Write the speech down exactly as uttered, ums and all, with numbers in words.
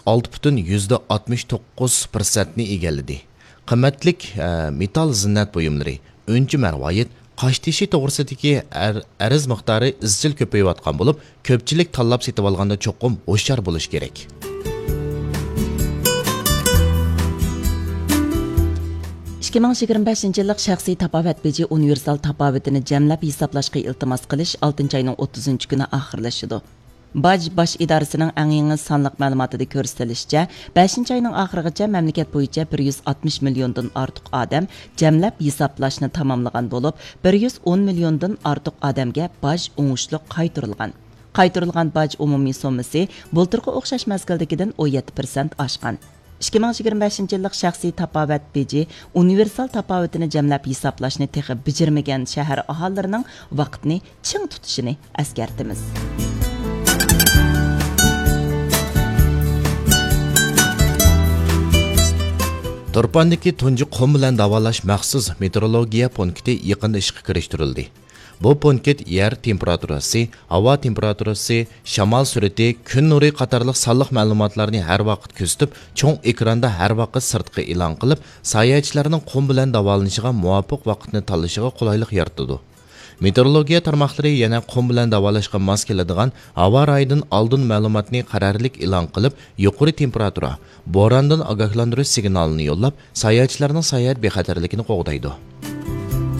ئالتە پۈتۈن يۈزدە ئاتمىش توققۇز پىرسەنتنى ئىگىلىدى. قىممەتلىك، ئە، مېتال زىننەت بۇيۇملىرى، ئۈنچە مەرۋايىت، قاشتېشى توغرىسىدىكى ئەر-، ئەرز مىقدارى ئىزچىل كۆپىيىۋاتقان بولۇپ، كۆپچىلىك تاللاپ سېتىۋالغاندا چوقۇم ھوشيار بولۇش كېرەك. ئىككى مىڭ يىگىرمە بەشىنچى يىللىق شەخسىي تاپاۋەت بېجى ئۇنىۋېرسال تاپاۋىتىنى جەملەپ ھېسابلاشقا ئىلتىماس قىلىش ئالتىنچى ئاينىڭ ئوتتۇزىنچى كۈنى ئاخىرلىشىدۇ. باج باش ئىدارىسىنىڭ ئەڭ يېڭى سانلىق مەلۇماتىدا كۆرسىتىلىشىچە، بەشىنچى ئاينىڭ ئاخىرىغىچە مەملىكەت بويىچە بىر يۈز ئاتمىش مىليوندىن ئارتۇق ئادەم جەملەپ ھېسابلاشنى تاماملىغان بولۇپ، بىر يۈز ئون مىليوندىن ئارتۇق ئادەمگە باج ئوڭۇشلۇق قايتۇرۇلغان. قايتۇرۇلغان باج ئومۇمىي سوممىسى بۇلتۇرقى ئوخشاش مەزگىلدىكىدىن ئون يەتتە پىرسەنت ئاشقان. ئىككى مىڭ يىگىرمە بەشىنچى يىللىق شەخسىي تاپاۋەت بېجى ئۇنىۋېرسال تاپاۋىتىنى جەملەپ ھېسابلاشنى تېخى بېجىرمىگەن شەھەر ئاھالىلىرىنىڭ ۋاقىتنى چىڭ تۇتۇشىنى ئەسكەرتىمىز. تۇرپاندىكى تۇنجى قۇم بىلەن داۋالاش مەخسۇس مېتېئورولوگىيە پونكىتى يېقىندا ئىشقا كىرىشتۈرۈلدى. بۇ پونكىت يەر تېمپېراتۇرىسى، ھاۋا تېمپېراتۇرىسى، شامال سۈرئىتى، كۈن نۇرى قاتارلىق سانلىق مەلۇماتلارنى ھەر ۋاقىت كۆزىتىپ، چوڭ ئېكراندا ھەر ۋاقىت سىرتقا ئېلان قىلىپ، ساياھەتچىلەرنىڭ قۇم بىلەن داۋالىنىشىغا مۇۋاپىق ۋاقىتنى تاللىشىغا قولايلىق يارىتىدۇ. مېتېئورولوگىيە تارماقلىرى يەنە قۇم بىلەن داۋالاشقا ماس كېلىدىغان ھاۋا رايىدىن ئالدىن مەلۇماتنى قەرەللىك ئېلان قىلىپ، يۇقىرى تېمپېراتۇرا، بوراندىن ئاگاھلاندۇرۇش سىگنالىنى يوللاپ، ساياھەتچىلەرنىڭ ساياھەت بىخەتەرلىكىنى قوغدايدۇ.